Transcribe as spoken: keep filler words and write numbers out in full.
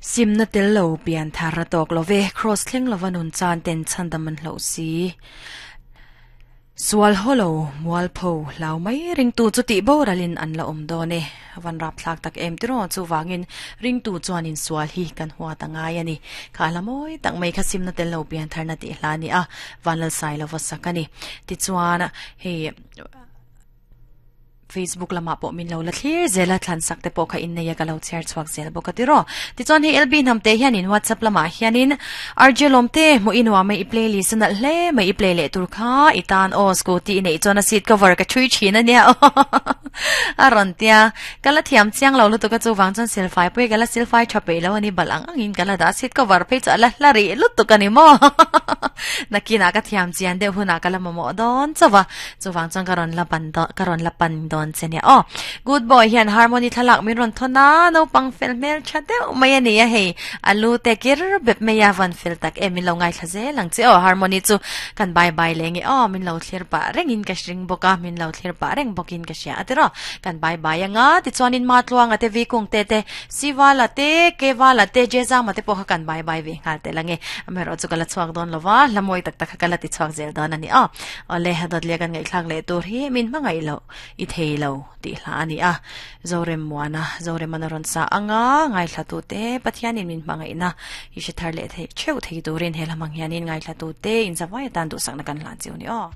Simna tel lo pian thar a tawk lo ve, Kraws thleng lova nun chan ten chhandam an hlauh si. Sual haw lo, mualpho, hlau mai ringtu chu tih boralin an la awm dawn e. Van rap thlak tak em tiraw chuvangin ringtu chuanin sual hi kan huat a ngai a ni. Kha hla mawi tak mai kha simna tel lo pian tharna tih hla a ni a, Vanlalsai lova sak a ni. Tichuan hei Facebook lamah pawh min lo la thlir zel a, thlan sak te pawh kha innei a ka lo chhiar chhuak zel bawk a tiraw. Tichuan hei L B hnam te hianin WhatsApp lamah hianin R J Lawm te hmuh i nuam mai i playlist a nalh hle mai i play leh tur kha i tan aw scooty i neih chuan a seat cover ka thui thin a nia a rawn tia. Ka la thiam chiang lo lutuk a chuvang chuan silfai pawh hi ka la silfai tha peih lo a ni balh ang angin ka la dah a seat cover phei chu a la hla rih lutuk a ni maw nakinah ka thiam chian deuh hunah ka la mamawh dawn chauh a chuvang chuan ka rawn la ban dawn ka rawn la pan dawn che nia aw good boy hian harmony thlalak min rawn thawn a naupang fel hmel tha deuh mai a ni a hei a lu te kir bep mai a van fel tak em min lo ngaithla zel ang che aw harmony chu kan bye bye leh nge aw min lo thlir pah rengin ka hring bawk a min lo thlir pah reng bawkin ka hria a tiraw kan bye bye anga tichuanin ma tluanga te vikung te te sivala te kevala te jezama te pawh kha kan bye bye ve nghal tel ange amaherawh chu ka la chhuak dawn lova hlamawi tak tak kha ka la ti chhuak zel dawn a ni aw awle dawtliah kan ngaihthlak leh tur hi min hmangaih loh i thei lo tih hla a ni a Zorem Muana Zoremana rawn sa anga ngaithla tu te Pathianin min hmangaihna i hre thar leh thei theuh thei turin he lamang hianin ngaithla tu te inzavai atan duhsakna kan hlan chiu ni aw.